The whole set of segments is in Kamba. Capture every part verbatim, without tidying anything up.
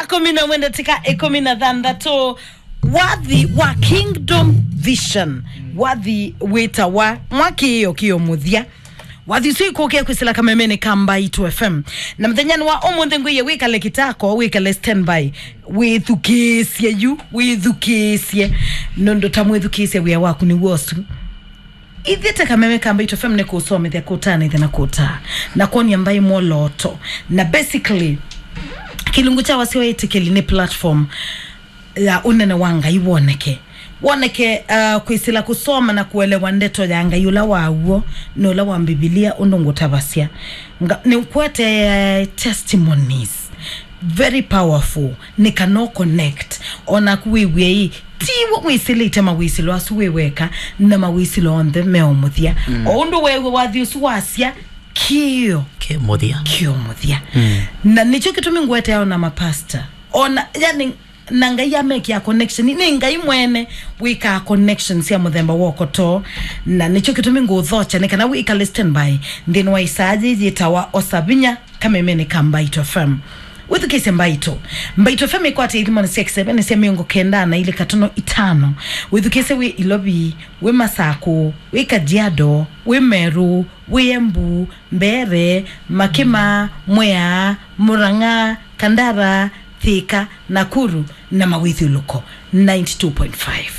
Akũmi na ũmwe ndatĩka ĩkũmi na thanthatũ. Wathi wa Kingdom Vision, wathi wĩtawa Mwakĩĩo Kĩo Mũthya. Wathi ũsu ikũkĩa kwĩsĩla kamemeni ka Mbaitũ F M. Na mũthenyanĩ wa ũmũnthĩ ngwĩie wĩkale kitako, wĩkale standby. Wĩthukĩĩsye yu, wĩthukĩĩsye. Nũndũ ta mwĩthukĩĩsye wĩa waku nĩ w'osu. Ithyĩ ta kameme ka Mbaitũ F M nĩ kũsomethya, kũtanĩthya na kũtaa, na kwonia mbaĩ mwolooto. Na basically, kĩlungu kya Wasya wa Ĩtĩkĩli nĩ platform ya ũnene wa Ngai woneke. Woneke, uh, kwĩsĩla kũsoma na kũelewa ndeto ya Ngai ũla wa w'o na ũla wa Mbivilia ũndũ ngũtavasya. Nga-, nĩkwete testimonies very powerful, nĩ kana ũ connect. Onaku wĩw'e ĩ, tiwe wĩsĩlĩte mawĩsĩlo asu wĩ weka, na mawĩsĩlo onthe me o mũthya. Mm. O ũndũ weew'e wathi ũsu wasya, kĩo Kĩ mũthya. Kĩo mũthya. Mm. Na nĩkyo kĩtumi ngwete ao na mapasta. Ona, yani, na Ngai amekĩa connection. Nĩ Ngai mwene wĩkaa connection sya mũthemba wa ũkotoo. Na nĩkyo kĩtumi ngũthokya nĩ kana wĩkale standby nthĩnĩ wa isaa yĩĩ yĩtawa Osa Vinya kamemeni ka Mbaitũ F M. Wĩthukĩĩsye Mbaitũ. Mbaitũ F M ĩkwatĩe ithimonĩ sya kĩseve nĩ sya mĩongo kenda na ilĩ katono itano. Wĩthukĩĩsye wĩ Ilovi, wĩ Masakũ, wĩ Kajiado, wĩ Meru, wĩ Embu, Mbeere, Makima, Mwea, Murang'a, Kandara, Thika, Nakuru na mawĩthyũlũko ninety two point five.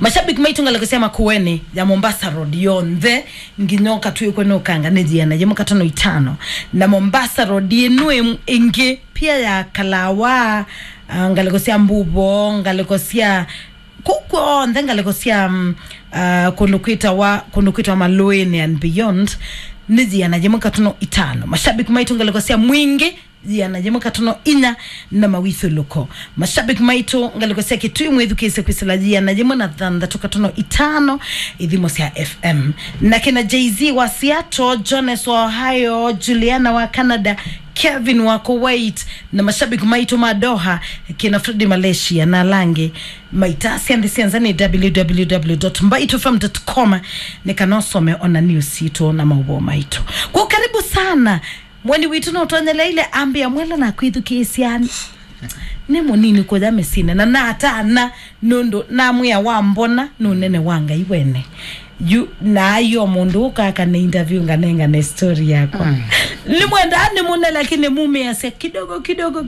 Mashabiki maitũ ngalĩko sya Makueni ya Mombasa Road yonthe, nginya ũkatw'ĩkwe nĩ ũkanga nĩ yĩana yĩmwe katono itano. Na Mombasa Road ĩno ĩ-, ĩngĩ pia ya Kalawa, ah, ngalĩko sya Mbuvo, ngalĩko sya kũu kwonthe, ngalĩko sya, mm, ah, kũndũ kwĩtawa, kũndũ kwĩtawa Malũĩnĩ and beyond, nĩ yĩana yĩmwe katono itano. Mashabiki maitũ ngalĩko sya Mwingĩ, yĩana yĩmwe katono inya na mawĩthyũlũko. Mashabiki maitũ ngalĩko sya Kitui mwĩthukĩĩsye kwĩsĩla yĩana yĩmwe na thanthatũ katono itano ithimo sya F M. Na kĩna Jay-Z wa Seattle, Jones wa Ohio, Juliana wa Canada, Kevin wa Kuwait, na mashabiki maitũ ma Doha, kĩna Freddy Malaysia na ala angĩ. Maitasya nthĩ sya nza nĩ w w w dot mbaitũ f m dot com nĩ kana ũsome ona news sitũ na maũvoo maitũ. Kwa karibu sana. Mweni witũ nũtonyeleile ambĩa mwela na kwĩthukĩĩsya nĩ mũnini kũya mĩsyĩnĩ, na natana nũndũ namwĩa wambona nĩ ũnene wa Ngai wene. Yu na aio mũndũ ũkaka nĩ interview nganengane story yakwa. Mm. Nĩmwendaa nĩmune, lakini mumĩasya kidogo kidogo.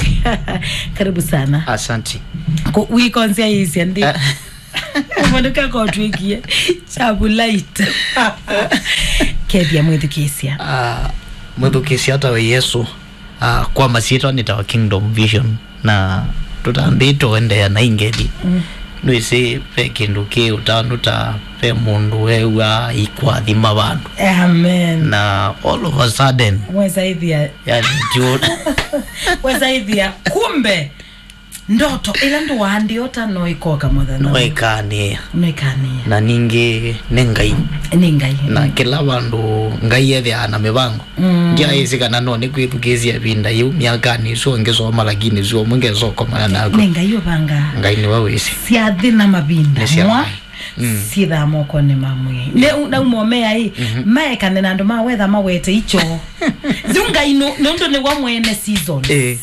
Karibu sana. Asante. Ku-, wikonzya ĩsya ndi. Eh. Mũndũ kakotwĩkie. Chabu light. Kethia mwĩthukĩĩsya. Ah, mwĩthukĩĩsya ta we Yesu. Ah, kwa masyĩtwa nĩtawa Kingdom Vision, na tũtambĩte ũendeea na ingeli. Mm. Nĩwĩsĩ ve kĩndũ kĩ ũtanu ta ve mũndũ wew'a ikwathima vandũ. Amen. Na all of a sudden, wesa ĩthĩa, yani, ndio wesa ĩthĩa, kumbe ndoto ĩla ndũaandĩota no ĩkoka mũthenya. No ĩkanĩa. No ĩkanĩa. Na ningĩ nĩ Ngai. Nĩ Ngai. Na kĩla vandũ Ngai ethĩaa na mĩvango. Mm. Ndyaĩsĩ kana no nĩkwĩthukĩĩsya ĩvinda yĩu myakanĩ ĩsu ngĩsoma, lakini sio ũmwe ngesokomana naku. Nĩ Ngai ũvangaa. Ngai nĩwe wĩsĩ. Syathĩ na mavinda. Nĩ sya mwa Ngai. Mm. Syĩthaa mokonĩ ma Mwĩai. Nĩ u-, nauma ũmea ĩ, mhm, maekane na andũ ma wetha mawete icho. Yu Ngai nũ-, nũndũ nĩwe mwene seasons. Eh.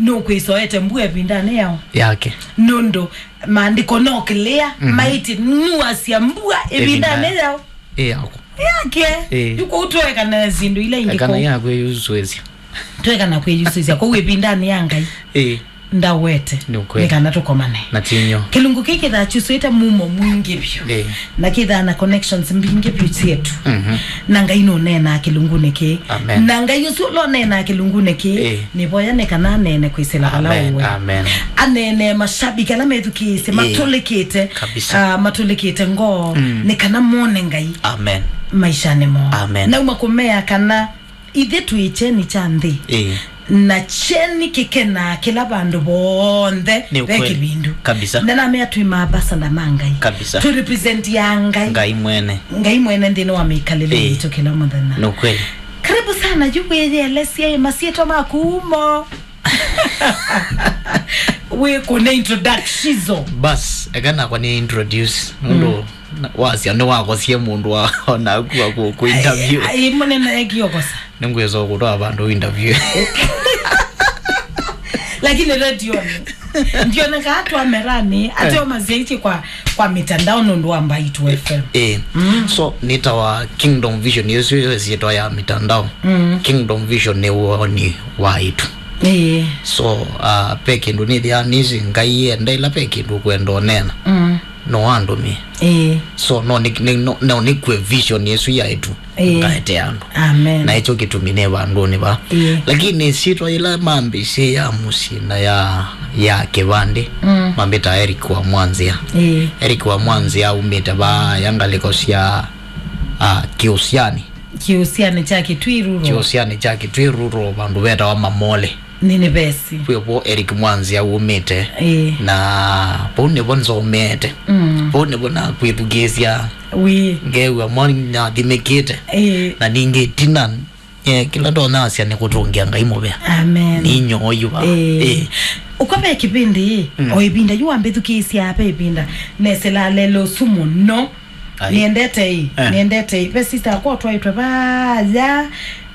Nũkwĩsoete mbua ĩvindanĩ yao. Yake. Nũndũ maandĩko no clear, mhm, maĩtye nuasya mbua ĩvindanĩ yao. Ĩ yako. Yake. Ĩ. Yu kũu twekana syĩndũ ila ingĩ. Ekana kũu. Yakwĩyusũĩsya. Twekana kwĩyusũĩsya kũu ĩvindanĩ ya Ngai. Ĩ. Ndawete. Nĩ ũkweli. Nĩ kana tũkomane. Na tinyo. Kĩlungu kĩĩ kĩthaa kyusũĩte mumo mwingĩ vyũ. Ĩ. Na kĩthaa na connections mbingĩ vyũ syetu. Mhm. Na Ngai nũneenaa kĩlungunĩ kĩĩ. Amen. Na Ngai ũsu ũla ũneenaa kĩlungunĩ kĩĩ, ĩ, nĩvoya nĩ kana aneene kwĩsĩla vala ũwe. Amen. Amen. Aneene mashabiki ala methukĩĩsye, ĩ, matũlĩkĩte, kabisa, ah, matũlĩkĩte ngoo, mm, nĩ kana mone Ngai, amen, maishanĩ moo. Amen. Nauma kũmea kana ithyĩ twĩ kyeni kya nthĩ. Ĩ. Na kyeni kĩkenaa kĩla vandũ vonthe. Nĩ ve ũkweli. Kĩvindu. Kabisa. Na namea twĩ maambasada ma Ngai. Kabisa. Tũ represent ya Ngai. Ngai mwene. Ngai mwene nthĩnĩ wa mĩkalĩle, ĩ, yitũ kĩla mũthenya. Nĩ ũkweli. Karibu sana, yu wĩyelesye masyĩtwa maku mo. Wĩ kũne introduction. Bas, eka nakwa nĩ introduce. Nũndũ, mm, na-, wasya nĩwakosie mũndũ wa, onaku wa kũ-, kũ interview. Ai, ai, mũnene ekiokosa. Nĩngwĩsa kũtwaa vandũ interview. Lakini redioni ndionekaa twamerani ateo masyaitye kwa, kwa mitandao nũndũ wa Mbaitu F M. Eh. So nĩtawa Kingdom Vision, ĩsu yo syĩtwa ya mitandao. Kingdom Vision nĩ woni wa ĩtu. Eh. So uh, pe kĩndũ nĩthĩaa nĩsĩ Ngai enda ĩla pe kĩndũ ũkwenda ũneena, no andũmĩe. Eh. So no nĩ, nĩ, no, no nĩkue vision ĩsu ya ĩtu. Ĩĩ. Ngaete andũ. Amen. Na ĩkyo kĩtumi nĩ vandũnĩ va. Ĩĩ. Lakini syĩtwa yĩla mambĩsye ya mũsyĩ na ya, ya kĩvandĩ, mambĩta Eric wa Mwanzĩa. Ĩĩ. Eric wa Mwanzĩa aumĩte va ya ngalĩko sya, ah, Kĩũsyani. Kĩũsyani kya Kĩtwiruro. Kĩũsyani kya Kĩtwiruro, vandũ vetawa Mamole. Nĩnĩvesi. Kwĩ vo Eric Mwanzĩa wumĩte. Ĩĩ. Na vau nĩvo nzomete. Vau nĩvo nakwĩthukĩĩsya. Wĩ. Ngew'a mwa nathimĩkĩte. Ĩĩ. Na ningĩ tina, eh, kĩla ndonyasya nĩ kũtũngĩa Ngai mũvea. Amen. Nĩ inyooyu va. Ĩĩ. Ĩĩ. Ũko ve kĩvĩndĩ, o ĩvinda yu wambĩthukĩĩsya ve ĩvinda, nesĩla lelo ũsu mũno. Ai. Nĩendete ĩ, eh, nĩendete ĩ. Ve sister akwa ũtwaĩtwe vaya,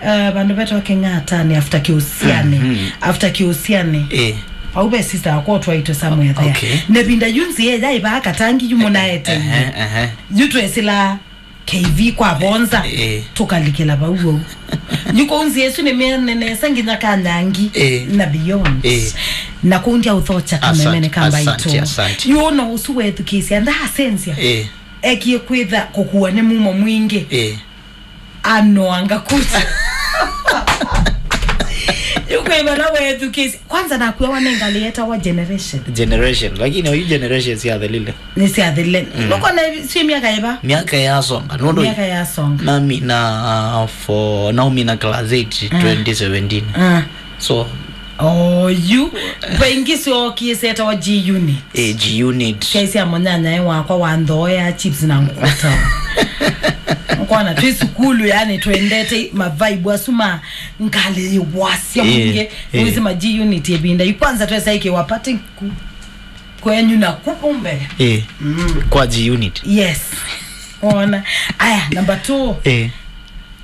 uh, vandũ vetawa Kĩng'atani after Kĩũsyani. After Kĩũsyani. Eh. Vau ve sister akwa ũtwaĩtwe somewhere there. Okay. Nevinda yu nzĩa yaĩ vaa katangi yu mũnaete. Ehe, ehe. Yu twesĩla K V kwa vonza. Eh. Tũkalikĩla vau vau. Yu kũu nzĩa ĩsu nĩmĩene nesa nginya Kanyangi, eh, na beyond. Eh. Na kũu ndyaũthokya kamemene ka Mbaitũ. Asante, asante. Yu no ũsu wethukĩĩsya ndaasenzya. Eh. Ekie kwĩtha kũkuwa nĩ mumo mwingĩ. Eh. Anoanga kucha. Yu kwĩ vala wethukĩĩsya. Kwanza nakuawa nĩ ngalĩ yetawa Generation. Generation. Lakini oyu Generation syathelile. Nĩsyathele. Mm. Nũkona syĩ myaka ĩva? Myaka yasonga. Nũndũ myaka yasonga. Namina, uh, for, naumina class eight, twenty seventeen. Ah. So, oyu. Vaingĩ syookie syetawa G Unit. Eh, G Unit. Syai sya mũnyanyae wakwa wa nthooea chips na ngũkũta. Ũkona twĩ sukulu, yani, twendete mavaibu asu ma ngalĩ yĩ wasya mwingĩ. Eh. Wĩsĩ ma G Unit ĩvinda yu kwanza twesa ĩkĩwa party ku-, kwenyu na kuku mbele. Eh. Mm. Kwa G Unit. Yes. Ona. Aya, number two. Eh.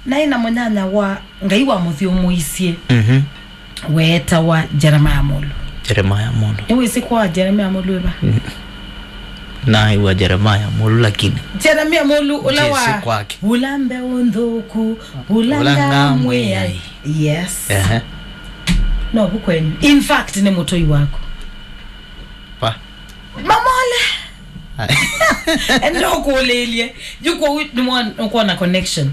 Naĩ na mũnyanya wa Ngai wa mũthyũmũisye. Mhm. Weetawa Jeremiah Mulu. Jeremiah Mulu. Nĩwĩsĩ kwa Jeremiah Mulu ĩva? Mm. Naĩw'a Jeremiah Mulu lakini. Jeremiah Mulu ũla wa Jesse kwake. Ũla mbeũ nthũku, ũla, ũla ngamwĩai. Ngamwĩai. Yes. Ehe. No vu kwenyu. In fact, nĩ mũtũi waku. Pa. Mamole. Enda ũkũlĩlye. Yu kwoou nĩwona connection.